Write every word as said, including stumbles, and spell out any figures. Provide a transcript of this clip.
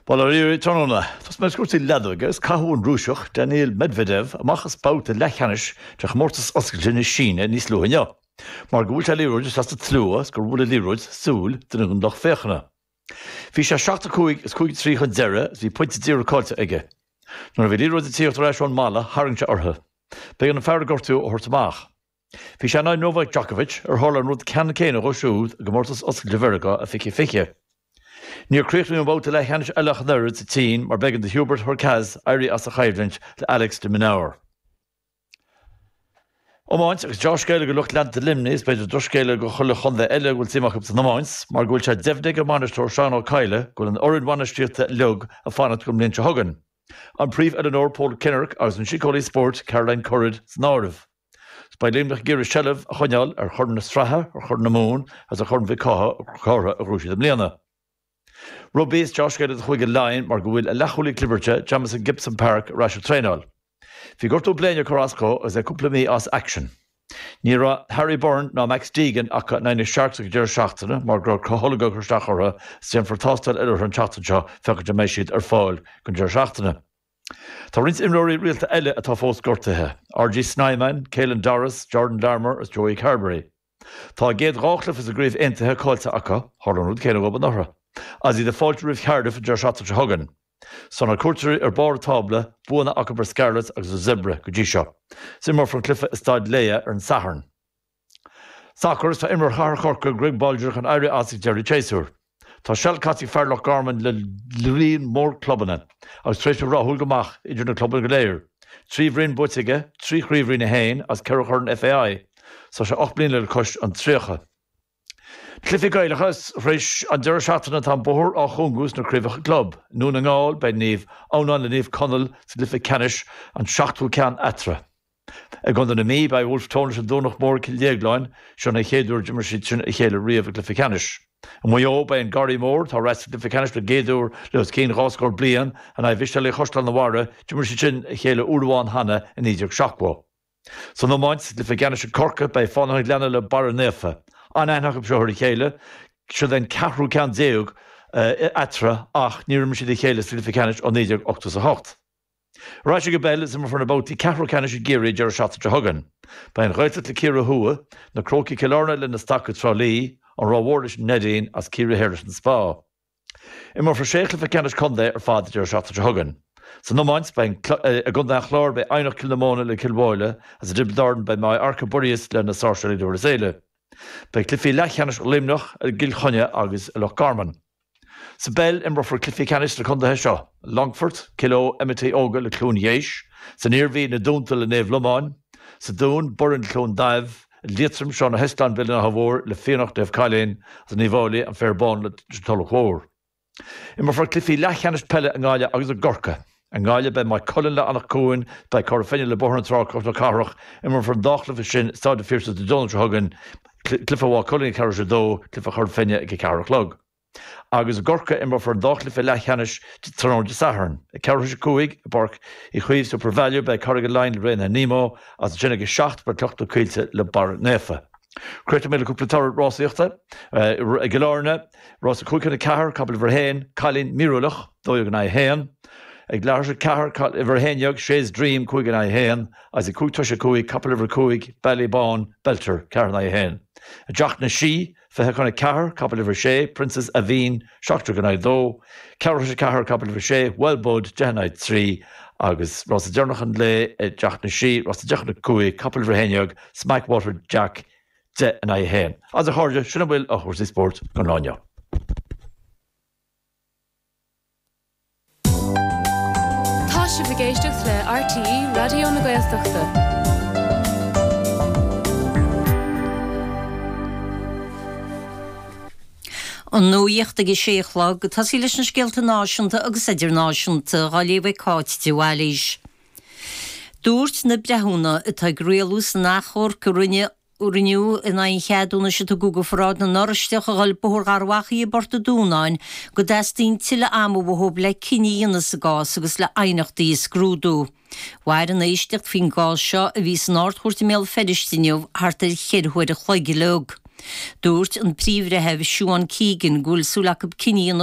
Bail ó Dhia oraibh tráthnóna. Tosóidh mé le cúrsaí leadóige agus caitheadh an Rúiseach Daniil Medvedev amach as babhta leathcheannais de chomórtas oscailte na Síne níos luaithe inniu, mar gur bhuail sé liathróid isteach sa tslua is gur bhuail an liathróid súil duine den lucht féachana. Bhí sé seacht a cúig is cúig a trí chun deiridh is bhí pointe daor caillte aige. Nuair a bhí an liathróid ag tíocht ar ais ón mballa, tharraing sé uirthi. B'éigean an fear a gortaíodh a thabhairt amach. Bhí sé in aghaidh Novak Djokovic, ar tharla an rud ceannann céanna dhó siúd i gcomórtas oscailte Mheiriceá i fiche fiche. Níor críochnaíodh an babhta leathcheannais eile ach an oiread sa tSín mar b'éigean do Hubert Hurkacz éirí as a choimhlint le Alex de Minaur. Iomáint agus deá-scéala do lucht leanta Luimnigh is b'fhéidir drochscéala do chuile chontae eile a bhfuil suim acu san iomáint mar go bhfuil sé deimhnithe ag an mbainisteoir Seán Ó Cadhla go bhfuil an fhoireann bhainistíochta uilig ag fanacht don mbliain seo chugainn. An príomh-oiliúnóir Paul Kinnerk agus an síceolaí spóirt Caroline Currid san áireamh. Beidh Luimneach ag iarraidh seilbh a choinneáil ar Chorn na Sraithe, ar Chorn na Mumhan agus ar Chorn Mhic Cárthaigh a ghnóthaigh siad i mbliana. Rugbaí is deá-scéala do Chúige Laighean mar go bhfuil a leathchúlaí clibirte, Jamison Gibson-Park, ar ais ag traenáil. Bhí gortú bléine ag cur as dó agus é cúpla mí as aicsean. Ní raibh Harry Byrne ná Max Deegan acu in aghaidh na Sharks ag an deireadh seachtaine mar go raibh crotholg ag cur isteach orthu is déanfar tástáil eile orthu an tseachtain seo féachaint an mbeidh siad ar fáil don deireadh seachtaine. Tá roinnt imreoirí rialta eile atá fós gortaithe, R G Snyman, Caelan Doris, Jordan Larmour agus Joey Carbery. Tá a gcéad dhá chluiche sa gCraobh Aontaithe caillte acu, tharla an rud céanna dóibh anuraidh, agus iad ag fáiltiú roimh Cardiff an deireadh seachtaine seo chugainn. Tá na cuairteoirí ar barr an tábla, buanna acu ar Scarlets agus ar Zebre go dtí seo. Is imreofar an cluiche i Staid Laya ar an Satharn. Sacar Is tá imreoir Chathair Chorcaí Greg Bolger chun éirí as ag deireadh an tséasúir. Tá seal caite ag fear Loch Garman le líon mór clubanna agus tar éis bheith rathúil go maith idir na clubanna go léir. Trí bhroinn buaite aige, trí chraobh Roinn a haon agus ceithre chorn F A I. Tá sé ocht mbliana le cois an tríocha. Cluichí Gaelacha Tar éis an deireadh seachtaine tá an bóthar á chúngú sna craobhacha club. I nDún na nGall beidh Naomh Adhamhnáin le Naomh Conaill sa gcluiche ceannais an seachtú ceann eatarthu. I gContae na Mí beidh Wolfe Tone leis an Domhnach Mór Cill Dhéagláin, seo an chéad uair a d'imir siad sin a chéile riamh i gcluiche ceannais. I Maigh Eo beidh an Garraí Mór atá ar ais sa gcluiche ceannais don gcéad uair le os cionn dhá scór bliain in aghaidh Mhiseálaigh Chaisleán an Bharraigh, d'imir siad sin a chéile uair amháin cheana i naoi déag seachtó. San iomáint sa gcluiche ceannais i gCorcaigh beidh Fánaithe an Ghleanna le Barra Naofa. An-aithne acu seo ar a chéile, seo an ceathrú ceann déag eatarthu ach níor imir siad a chéile sa gcluiche ceannais ó naoi déag ochtó a hocht. Ar ais ag an bpeil is imreofar na babhtaí ceathrú ceannais i gCiarraí deireadh seachtaine seo chugainn. Beidh an Ghaeltacht le Ciarraí Thuaidh, na Crócaigh Cill Airne le na Stacaigh Trá Lí, an Ráth Mhór leis an Neidín as Ciarraí Thoir leis an Spá. Imreofar sé chluiche ceannais contae ar fad deireadh seachtaine seo chugainn. San iomáint beidh i gContae an Chláir beidh Eidhneach Cill na Móna le Cill Mháille agus i dTiobraid Árann beidh Maigh Arca Buiríos le na Sáirséalaigh Durlas Éile. Beidh cluichí leathcheannais Luimneach i gCill Chainnigh agus i Loch Garman. Sa bpeil imreofar cluichí ceannais sna contaetha seo, Longfort, Cill Eo, M I T Óga le Cluain Gheis, san Iarmhí na Dúnta le Naomh Lomáin, sa Dún, Boirinn Cluain Daimh, Liatroim Seán Ó hEisleáin Béal an Átha Mhóir le Fiannacht Naomh Cailín agus in Uíbh Fhailí an Féar Bán le Tulach Mhór. Imreofar cluichí leathcheannais peile i nGaillimh agus i gCorcaigh. I nGaillimh beidh Maigh Cuilinn le Anach Cuain, beidh Cora Finne le Bóthar na Trá Cnoc na Cathrach, imreofar an dá chluiche sin i Staid an Phiarsaigh Dé Domhnaigh seo chugainn, cluiche Mhaigh Cuilinn ag ceathrú tar éis a dó, cluiche Chora Finne ag a ceathair a chlog. Agus i gCorcaigh imreofar an dá chluiche leathcheannais tráthnóna Dé Sathairn. Ag ceathrú tar éis a cúig i bPáirc Uí Chaoimh SuperValu beidh Carraig Laighin le Raonaithe Nemo agus ansin ag a seacht beidh Cloich na Coillte le Barra Naofa. Críochnóidh mé le cúpla toradh rásaíochta. I gCill Airne, rás a cúig chun a ceathair, capall uimhir a haon, Cailín Míorúilach, dó dhéag in aghaidh a haon. Ag leathuair tar éis a ceathair, uimhir a haon déag, Shays Dream, cúig in aghaidh a haon. Agus ag cúig tar éis a cúig, capall uimhir a cúig, Ballybán, Belter, ceathair in aghaidh a haon. I dTeach na Sí, fiche chun a ceathair, capall uimhir a sé, Princess Aveen, seacht déag in aghaidh a dó. Ceathrú tar éis a ceathair, capall uimhir a sé, Well Bud, deich in aghaidh trí. Agus rása deireanach an lae i dTeach na Sí, rása deich chun a cúig, capall uimhir a haon déag, Smackwater Jack, deich in aghaidh a haon. Agus a chairde, sin a bhfuil ó chúrsaí spóirt don lá inniu. Tá sibh ag éisteacht le R T E Raidió na Gaeltachta. An nuacht ag a sé a chlog, ag tosaí leis na scéalta náisiúnta agus idirnáisiúnta, á léamh ag Cáit de Bhailís. Dúirt na breithiúna atá ag rialú san achomharc a rinne rinneadh in aghaidh an cheadúnais a tugadh do Pharáid na nOráisteach a dhul Bóthar Gharbh Achaidh i bPort an Dúnáin go dteastaíonn tuilleadh ama uathu le cinneadh a dhéanamh sa gcás agus le haighneachtaí a scrúdú. Mhair an éisteacht faoin gcás seo, a bhí san Ard-Chúirt i mBéal Feirste inniu, thart ar cheithre huaire a chloig uilig. Dúirt an Príomh-Bhreitheamh Siobhán Keegan go bhfuil súil acu cinneadh a dhéanamh